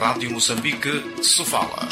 Rádio Moçambique, Sofala.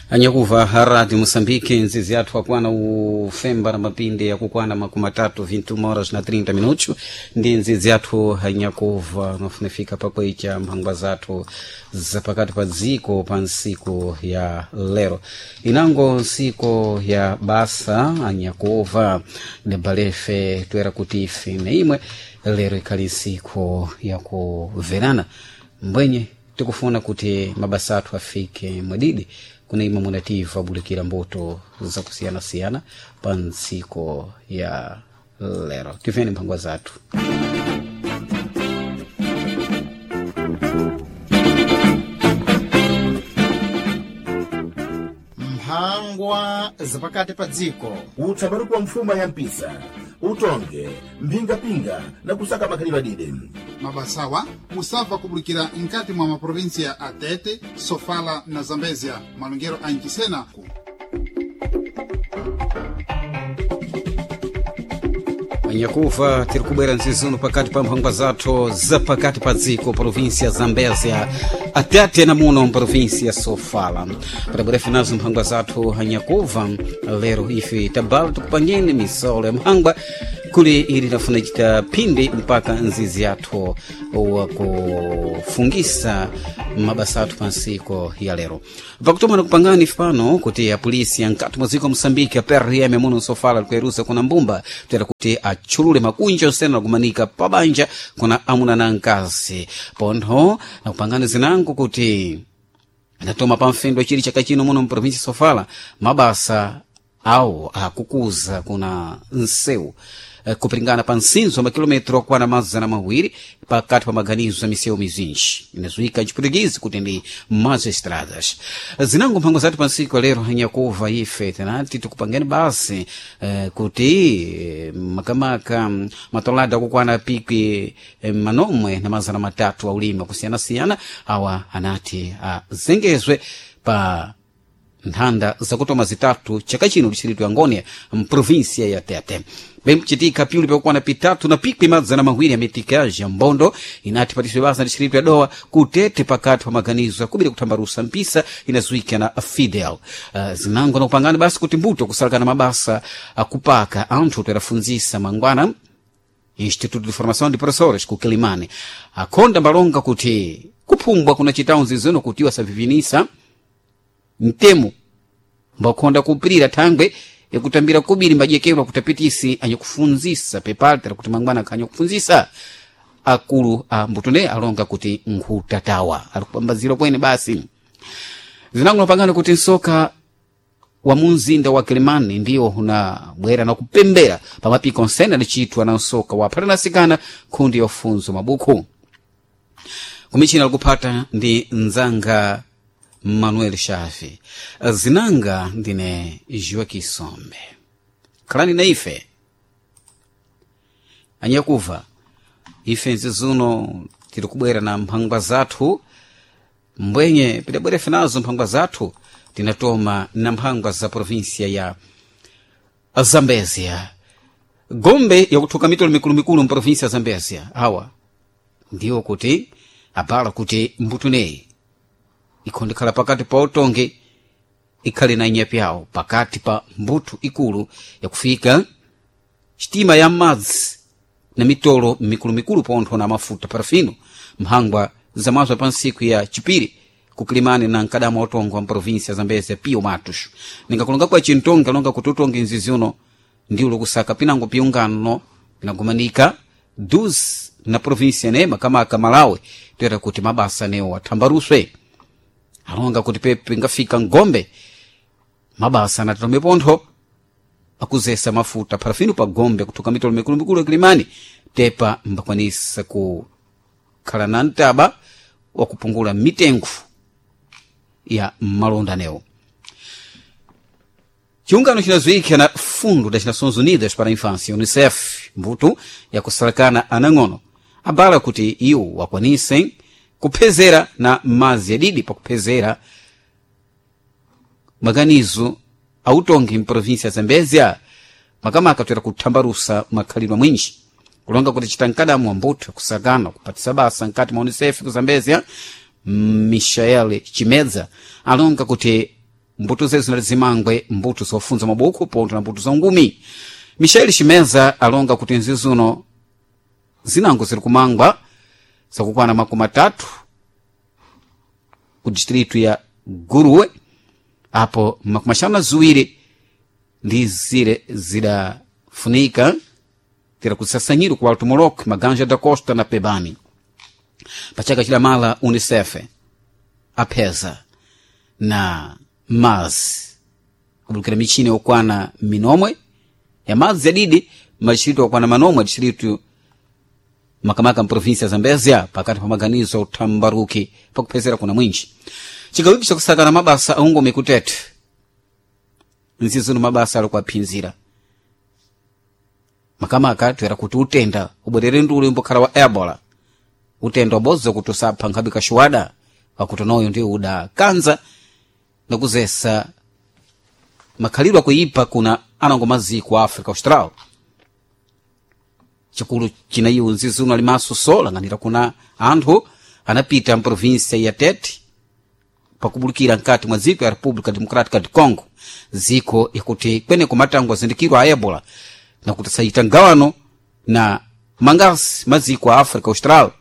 Anyakuva Rádio Moçambique, nzizi yathu akwana ufemba na mapinde yakukwana makumi atatu 21 horas na 30 minutos, ndi nzizi yathu anyakuva mafunifika pakwecha mphangwa zathu zapakati pa dziko pa nsiku ya lero inango nsiku ya basa anyakuva debalefe toera kuti ife na imwe lero ikhali nsiku yakuverana mbwenye tikufuna kuti mabasa athu afike mwadidi kuna imwe munativa abulikira mbuto zakusiyanasiyana pa ntsiku ya lero. Tiveni mphangwa zathu. Mphangwa zapakati pa dziko. Utsabaruku wa mfuma ya mpisa, utonge mphingapinga na kusaka makhalidwe adide. Mabasawa musabva kubulikira nkati mwa maprovinsia a Tete, Sofala na Zambezia, malongero a Ncisena. Anyakuva, tiri kubwera nzizuno pakati pa mphangwa zathu zapakati pa dziko, província Zambésia, atete na muno mprovíncia Sofala. Patabwerefe nazo mphangwa zathu anyakuva lero ife tabala tikupangeni misolo ya mphangwa kuli ili nafuna chita phindi mpaka nzizi yathu wakufungisa mabasa athu pa nsiku ya lero. Pakutoma nakupangani pano kuti apolisi ya mkati mwa dziko Moçambique, a PRM muno Sofala, likuyeruza kuna mbumba tera kuti atchulule makunja osena nakumanika pabanja kuna amuna na mkazi. Pontho nakupangani zinango kuti anatoma pa mfendo chili chaka chino muno mprovinsi Sofala mabasa awo akukuza kuna nsewu kupiringana pa nsinzo wa makilometro okwana 200 pakati pa maganizo ya misewu mizinji inazuika mchipulikizi kuti ndi mazo estradas. Zinango mphango zathu pa nsiku lero anyakuva ife tinati tikupangeni basi kuti makamaka matolada akukwana pikwi manomwe na 300 aulimi akusiyanasiyana awa anati azengezwe pa nthanda zakutoma zitatu chaka chino distrito ya Ngônia mprovinsia ya Tete. Bemchitika piuli pakukwana pitatu na pikwi 200 ya mitikaji ya mbondo inati patiswe basa distrito ya Dowa kutete pakati pa maganizo akubiri kuthambarusa mpisa inazuika na Fidel. Zinango na kupangana basi kuti mbuto kusalakana mabasa akupaka anthu toerafunzisa mangwana Instituto de Formação de Professores ku Kilimani akhonda mbalonga kuti kuphumbwa kuna chitaunzi zino kuti wasavivinisa mtemo mbakhonda kupirira thangwe yakutambira kubiri mbajekero kutapitisi anyakufunzisa pepaltera kuti mangwana akanyakufunzisa akulu a mbutune alonga kuti nkhutatawa ali kupambazira kwene basi. Zinango pangano kuti nsoka wa munzinda wa Kilimani ndiwo unabwera na kupembera pamapiko onsene adacitwa na nsoka wa phatanasikana khundi yofunzo mabuku kumichina likuphata ndi nzanga Manuel Shafi. Zinanga ndine Joaquim Sombe. Khalani na ife anyakuva ife nzizuno tiri kubwera na mphangwa zathu mbwenye pidabwerefe nazo mphangwa zathu tinatoma na mphangwa za provinsia ya Zambezia, gombe yakuthuka mitolo mikulumikulu mprovinsia ya Zambezia. Awa ndiwo kuti abala kuti mbutuneyi ikhondekhala pakati pa utongi ikhale na inyapi yawo pakati pa mbuthu ikulu yakufika sitima ya madzi na mitolo mikulumikulu pontho na mafuta parafino mphangwa zamazwa pa nsiku ya chipiri kukilimani na mkadama wa utongo wa mprovinsia ya Zambezia Pio Matos. Ningakulonga kwa chintongi alonga kuti utongi nzizi uno ndiwo lokusaka pinango piungano pinagumanika dus na provinsia ne makamaka Malawi toera kuti mabasa newo athambaruswe alonga kuti pepe ngafika ngombe mabasa anatome pontho akuzesa mafuta parafino pa gombe kuthuka mitolo mikulumikulu yakilimani tepa mbakwanisa kukhala na mtaba wakupungula mitengo ya malonda newo. Chiungano chinazuika na Fundo das Nações Unidas para a Infância, UNICEF, mbuto yakusalakana anang'ono abala kuti iwo wakwanise kuphezera na mazi adidi pakuphezera maganizo autongi mprovinsia ya Zambezia makamaka toera kuthambarusa makhalidwe mwinji. Kulonga kuti chitankadamu ambuto kusakana kupatisa basa nkati mwa Unicef ku Zambezia, Michael Chimedza alonga kuti mbuto zezo zinali zimangwe mbuto zofunza mabuku pontho na mbuto za ngumi. Michael Chimedza alonga kuti nzizuno zinango ziri kumangwa zakukwana 30 ku distritu ya Guruwe, apo 52 ndi zire zidafunika tira kusasanyiro ku Alto Moloque, Maganja da Costa na Pebani. Pachaka chidamala Unicef apeza na mazi kubulukira michini yokwana minomwe ya mazi yadidi madistritu okwana manomwe distritu makamaka mprovinsia ya Zambezia pakati pa maganizo uthambaruki pakuphezera kuna mwinji. Chigawiki chakusakana mabasa aungome kutete nzizuno mabasa ali kuaphinzira makamaka toera kuti utenda ubwerere nduli umbokhala wa ebola, utenda ubodzi kuti usapha nkhabe kaxuwada pakuti noyo ndiwo udakanza nakuzesa makhalidwe akuipa kuna anango maziko a Africa Austral. Chikulu chinayiwo nzizuno alimaso so lang'anira kuna anthu anapita mprovinsia ya Tete pakubulukira nkati mwa dziko ya República Democrática de Congo, dziko yakuti kweneko matango azindikirwa a ebola nakuti sayita mgawano na mangasi maziko a Africa Austral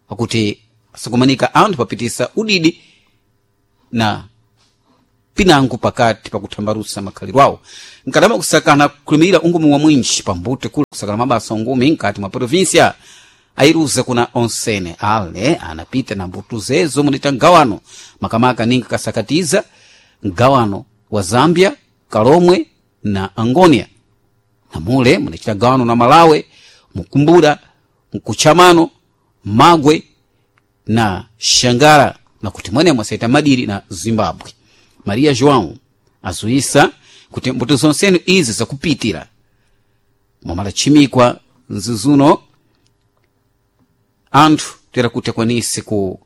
akuti asikumanika anthu papitisa udidi na pinango pakati pakuthambarusa makhalidwe awo nkatama kusakana kulimirira ungumi wa mwinji pambute kula kusakana mabasa ungumi nkati mwa provinsia airuza kuna onsene ale anapita na mbuto zezo munita mgawano makamaka ninga kasakatiza mgawano wa Zambia, Kalomwe na Angonia, na mule munachita gawano na Malawi, Mukumbura, Mkuchamano, Magwe na Shangara, na kuti mwene mwasaita madiri na Zimbabwe. Maria João azuisa kuti mbuto zonsene izi zakupitira mwamalachimikwa nzizuno anthu tera kuti akwanise ku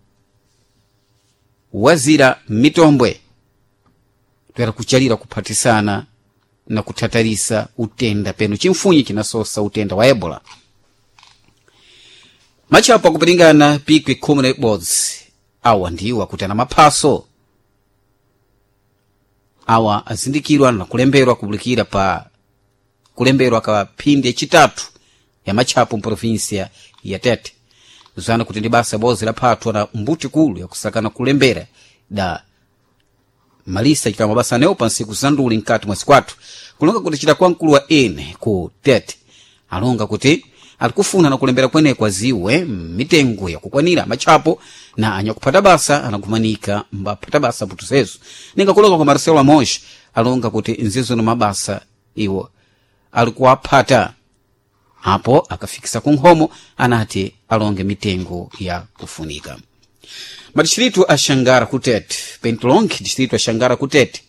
wazira mitombwe toera kuchalira kuphatisana na kuthatarisa utenda peno chimfunyi chinasosa utenda wa ebola. Machapo akupiringana pikwi 11 awa ndiwo akuti ana maphaso awa azindikirwa na kulemberwa kubulikira pa kulemberwa ka phindi yachitatu ya machapo mprovinsia ya Tete, zana kuti ndi basa bozi laphathwa na mbuti kulu yakusakana kulembera da malisa chita mabasa anewo pa nsiku zanduli mkati mwa sikwathu. Kulonga kuti chita kwa mkulu wa ene ku Tete alonga kuti alikufuna na kulembera kweneko aziwe mitengo yakukwanira machapo na anyakuphata basa anakumanika mbaphata basa mbuto zezo. Ninga kulonga kwa Marcelo Amos alonga kuti nzizo na mabasa iwo alikuwaphata apo akafikisa kunkhomo anati alonge mitengo ya kufunika. Madistritu a Xangara kutete Pentlong, distritu a Xangara kutete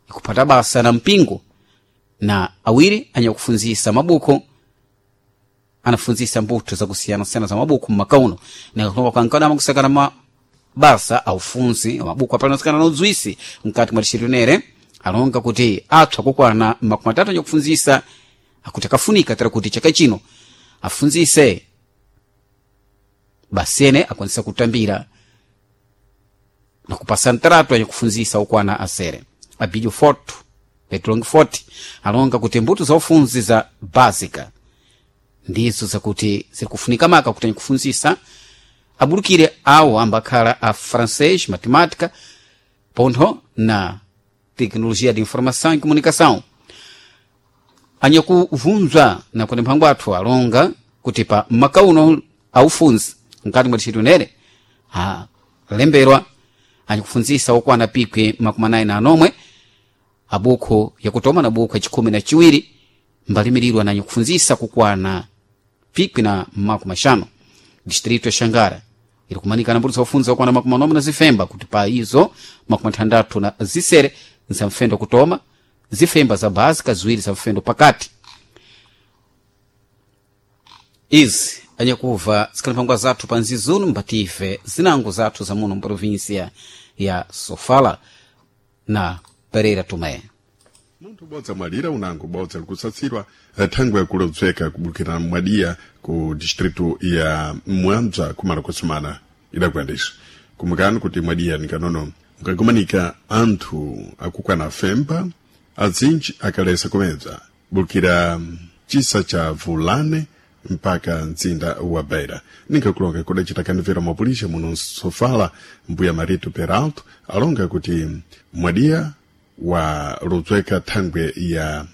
ikuphata basa na mpingo na awiri anyakufunzisa mabuku anafunzisa mbuto zakusiyanasiyana za mabuku mmakauno nikakulonga kankadama kusakana mabasa aufunzi mabuku apalanasikana na udzwisi mkati mwa distritu nere alonga kuti athu akukwana 30 anyakufunzisa akuti akafunika tera kuti chaka chino afunzise basene akwanisa kutambira na kupasa ntaratu anyakufunzisa okwana asere. Abílio Foto Petrong 40 alonga kuti mbuto za ufunzi za básica ndizo zakuti zirikufunika maka kuti anyakufunzisa abulukire awo ambakhala a francês, matemática pontho na tecnologia de informação e comunicação. Anyakuvunzwa na kuti mphango athu alonga kuti pa makauno aufunzi mkati mwa distritu nere alemberwa anyakufunzisa okwana pikwi 46 abukho yakutoma na bukho yachikhumi na chiwiri mbalimirirwa na anyakufunzisa kukwana pikwi na 50. Distritu ya Xangara iri kumanikana mbuto zakufunza okwana 40 na zifemba kuti pa izo 66 za mfendo kutoma, zifemba za básica ziwiri za mfendo pakati. Izi anyakuva zikhalipangwa zathu pa nzizuno mbatife zinango zathu za muno mprovinsia ya Sofala na Pereira Tomé. Munthu ubodzi amwalira, unango ubodzi ali kusatsidwa thangwe yakulodzeka kubukira mwadiya ku distritu ya Mwambza kumala kusumana idakuyandisa. Kumbukani kuti mwadiya nikanono mkagumanika anthu akukwana femba azinji akalesa kumedza bukira chisa cha Vulane mpaka mzinda wa Beira. Ninkakulonga kudacita kanivera mapulisha muno Sofala, mbuya Marito Peralto alonga kuti mwadiya wa ludzweka thangwe ya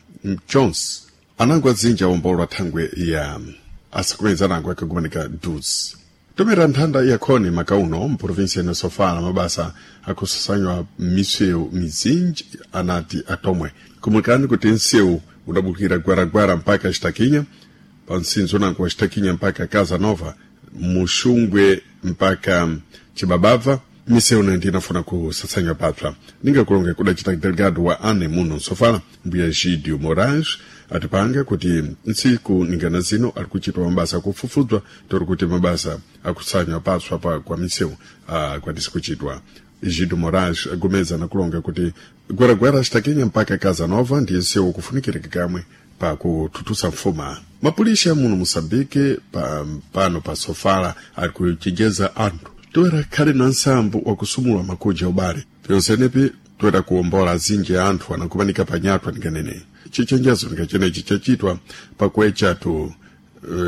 Jones anango azinji awombolwa thangwe ya asakumedza anango akagumanika dus tomera nthanda yakhoni makauno mprovinsia ino Sofala mabasa akusasanywa misewu mizinji anati atomwe. Kumukani kuti nsewu udabukira Gwaragwara mpaka Xitakinya, pa msinzo unango wa Xitakinya mpaka Casa Nova, Muxungwe mpaka Chibabava, misewu naindi inafuna kusasanywa papsa. Ningakulonga kudacita delegado wa ane muno Sofala, mbuya Gidio Moraes, atipanga kuti ntsiku ningana zino ali kuchitwa mabasa akufufudzwa tori kuti mabasa akusanywa patswa pa kwa misewu akwanise kuchitwa. Gido Moraes agomeza nakulonga kuti Gwaragwara, Xitakinya mpaka Casa Nova ndiye nsewu kufunikirika kamwe pakuthuthusa mfuma. Mapulisha muno Moçambique pa, pano pa Sofala ali kuchenjeza anthu toera khale na nsambo wakusumula makuja ubale pyonsenepi toera kuwombola azinji a anthu anakumanika panyatwa. Ninganene chichenjezo ningachenechi chachitwa pakuecha tu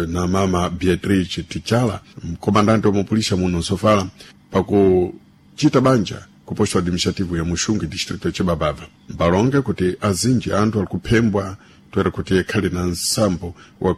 na mama Beatrice Tichala, mkomandante wa muno Sofala, pakuchita banja ku posto administrativo ya Muxungue, distrito ya Chibabava. Mbalonga kuti azinji anthu ali kuphembwa toera kuti khale na nsambo wa